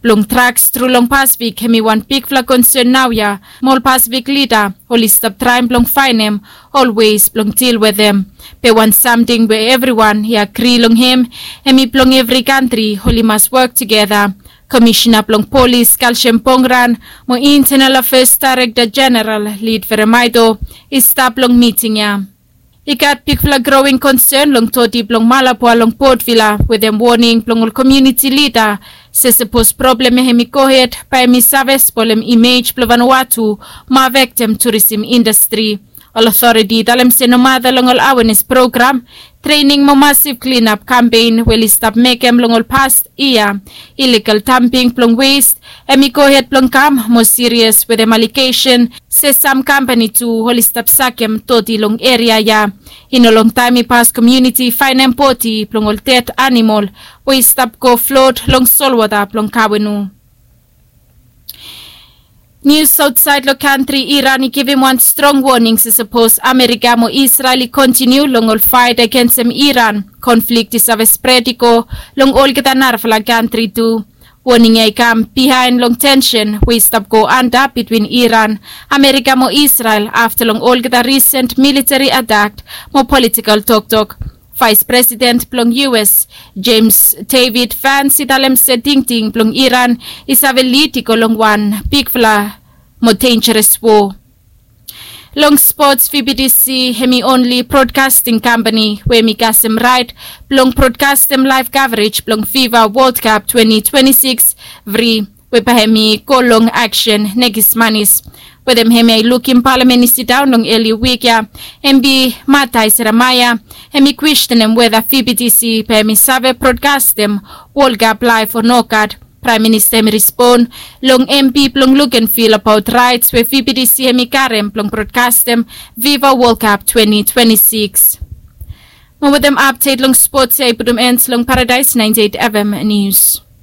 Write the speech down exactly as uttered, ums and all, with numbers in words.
blong traks tru long Pasifik hem i wan bigfala konsen naoia. Mo ol Pasifik lida oli stap traem blong faenem ol wes blong dil wetem. Be wan samting we evriwan i agri long hem hem i blong evri kantri oli mas wok tugeta. Komisina blong polis Kalsem Pongran mo Intenal Afes Daerekta Jeneral Lid Veremaito i stap long miting ya. I gat bigfala growing konsen long toti blong Malabwa long Potvila wetem woning blong ol komuniti lida se sapos problem ya hem i gohed bae hem i save spolem imej blong Vanuatu mo afektem turisim indastri. Ol otoriti i talem se nomata long ol awenes program, trening mo masif klinap kampen we oli stap mekem long ol pas yia, iligal damping blong wes hem i gohed blong kam mo sirias wetem alegesen se sam kampani tu oli stap sakem toti long eria ya. I no longtaem i pas komuniti i faenem bodi blong ol ded anamol we i stap go flot long solwota blong Kawenu. Nius aotsaed long kantri, Iran i givim wan strong woning se sapos Amerika mo Isrel i kontiniu long ol faet agensem Iran, konflik i save spred i go long olgeta narafala kantri tu. Woning ya i kam bihaen long tensen we i stap go anda bitwin Iran, Amerika mo Isrel afta long olgeta risen militeri atak mo politikol toktok. Vaes Presiden blong U S, Jemes Devid Vans, i talem se tingting blong Iran i save lid i go long wan bigfala mo denjeres wo. Long spots, V B T C hem i onli brodkasting kampani we hem i kasem raet blong brodkastem laef kavrej blong FIFA World Cup twenty twenty-six fri, we bae hem i go long aksen nekis manis. Wetem hem ya i lukim palamen i sidaon long eli wik ya, M P Matai Seremaia hem i kwestenem weta V B T C bae hem i save brodkastem World Cup laef o nogat. Praem Minista hem i respon long M P blong Lukenvil abaot raets we V B T C hem i karem blong brodkastem FIFA World Cup twenty twenty-six. Mo wetem apdet long spots ya i putum en long Paradaes ninety-eight F M Nius.